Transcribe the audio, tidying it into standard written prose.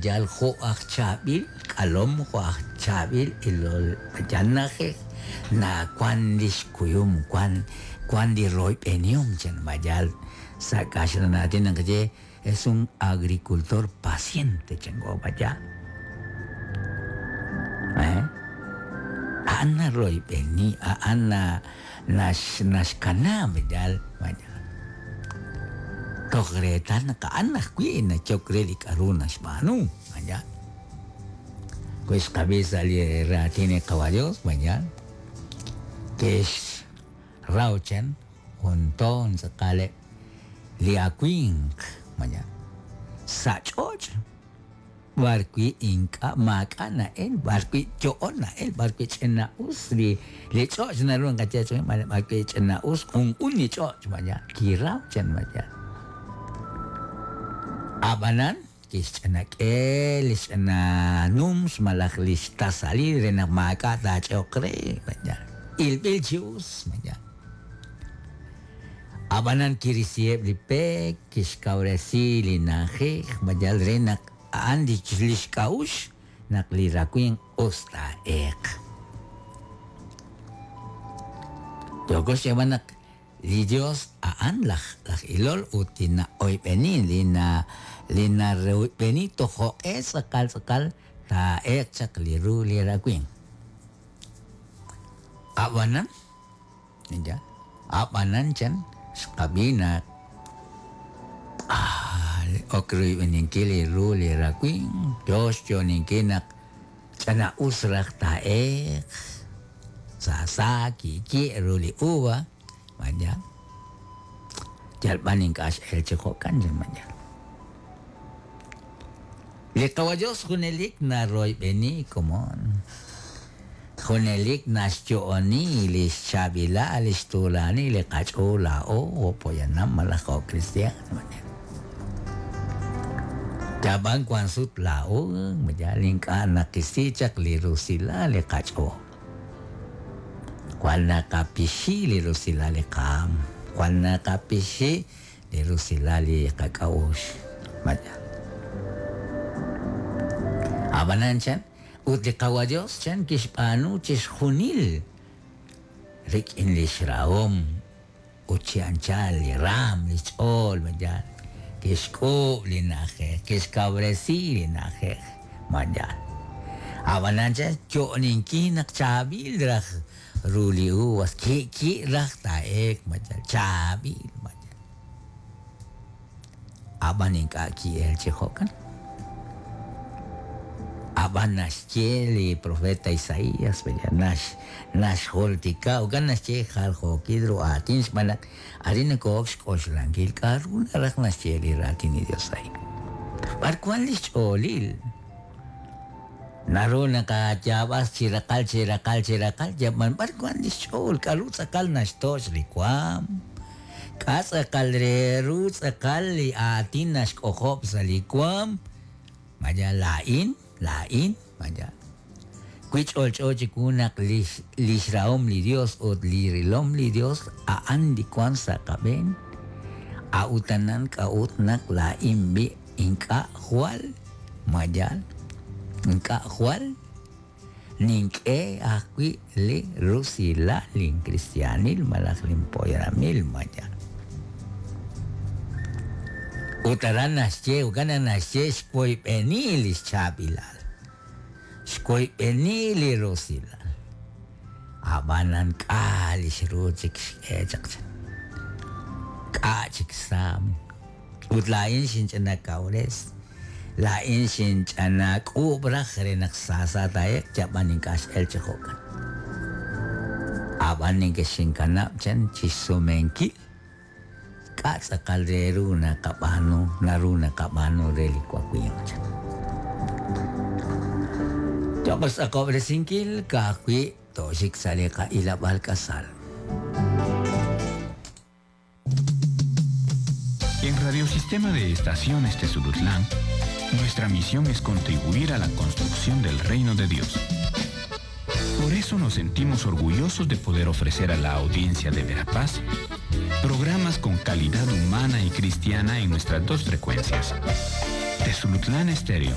yal jo' aj chaab'il k'alom, jo' aj chaab'il ilol yal na'ajej, nawank li xkuyum, wank wank li royb'enihom chan ma yaal sa' kaxlan aatin naqaye es un agricultor paciente chanko ma yaal. Eh? A'an naroyb'eni, a'an na nax naxkanab' yaal ma yaal. Toj reetal naq a'an ajwi' nachok re li k'a'ru naxb'aanu, ma yaal. Wi xqab'i sa' li raatin li Qawa' Dios, ma yaal, ke'xraw chan jun toon tz'aqaleb' li awimq, ma yaal, sa' ch'och' b'arwi' ink'a' maak'a' na'el, b'arwi' yo'on na'el, b'arwi' ch'ina'us li li ch'och' naru naqaye chi b'arwi' ch'ina'us q'unq'un li ch'och', ma yaal, kiraw chan, ma yaal. Ab'anan kixch'inak'e li xch'ina nums malaj li xtasalil re naq maak'a' taach'e'oq re, ma yaal. Ilb'il chi us, ma yaal. Ab'anan kirisiheb' li pek, kixkawresi li na'ajej, ma yal re naq a'an li xk'a'uxl naq li rawimq us taa'eeq. Yooko xyeeb'al naq li Yos a'an laj laj ilol ut li na'oyb'eni, li na li naroyb'eni toj jo'q'e tz'aqal tz'aqal taa'eeq chaq li ru li rawimq. Ab'anan Ya. Ab'anan chan xqab'i naq ok royb'eninkil li ru li rawimq, yo xyo'oninkil naq ch'ina'us raj taa'eeq, saasa ki'ki' ru li uva, maya. Yal b'an ink'a' x'el chi jo'kan, chan maya. Li Qawa' Yos junelik naroyb'eni komon. Junelik naxyo'oni li xchaab'ilal, li xtuulanil li qach'ool laa'o jo' poyanam malaj jo' kristiaan. Yab'an wank sut laa'o yal ink'a' naqisi chaq li rusilal li qach'ool. Jwal naqapixi li rusilal li qaanm, jwal naqapixi li rusilal li qak'a'uxl. Maya. Ab'anan chan, ut li Qawa' Yos chan kixb'aanu chixjunil rik'in li xrahom ut chi anchal li raanm, li xch'ool, maya. Kixk'uub' li na'ajej, kixkawresi li na'ajej, maya. Ab'anan chan, yo'oninkil naq chaab'il raj ru li uvas, ki'ki' raj taa'eek, maya, chaab'il, maya. Ab'an ink'a' ki'elk chi jo'kan. Ab'an naxye li profeta Isaías, nax, naxjultika, jo'kan naxye jaljookil ru aatin xb'aan naq arin noko'ok xk'oxlankil k'a'ru naraj naxye li raatin li Dios a'in. B'ar wan li xch'oolil? Naru naqayaab'as chi raqal, chi raqal, chi raqal, yab'an b'ar wan li xch'ool, k'a'ru tz'aqal naxtoch' li waam? K'a' tz'aqal re ru tz'aqal li aatin naxk'ojob' sa' li waam? Maya laa'in, laa'in, maya. Wi ch'olch'o chiwu naq lix, lix rahom li Dios ut li rilom li Dios a'an li wan sa' qab'een, a'utanan k'a'ut naq laa'in b'i' ink'a' jwal, maya, ink'a' jwal nink'e ajwi' li rusilal linkristiaanil malaj linpoyanamil, maya. Ut aran naxye, jo'kan naq naxye xwoyb'eni li xchaab'ilal, xwoyb'eni li rusilal. Ab'anan k'a' li xru chik xk'e chaq chan, k'a' chik xsaam. Ut laa'in xinch'ina kawres, laa'in xinch'ana k'uub' raj re naq saasa taa'eq, yab'an ink'a' x'el chi jo'kan. Ab'an nekexinkanab' chan chi xsumenkil k'a' tz'aqal re ru naqab'aanu, naru naqab'aanu re li wawimq chan. Cho'q xtz'aqob'resinkil ka'ajwi' tooxik sa' li qa'ilab'aal k'asal. En Radiosistema de Estaciones Tezulutlán, nuestra misión es contribuir a la construcción del reino de Dios. Por eso nos sentimos orgullosos de poder ofrecer a la audiencia de Verapaz programas con calidad humana y cristiana en nuestras dos frecuencias. Tezulutlán Estéreo,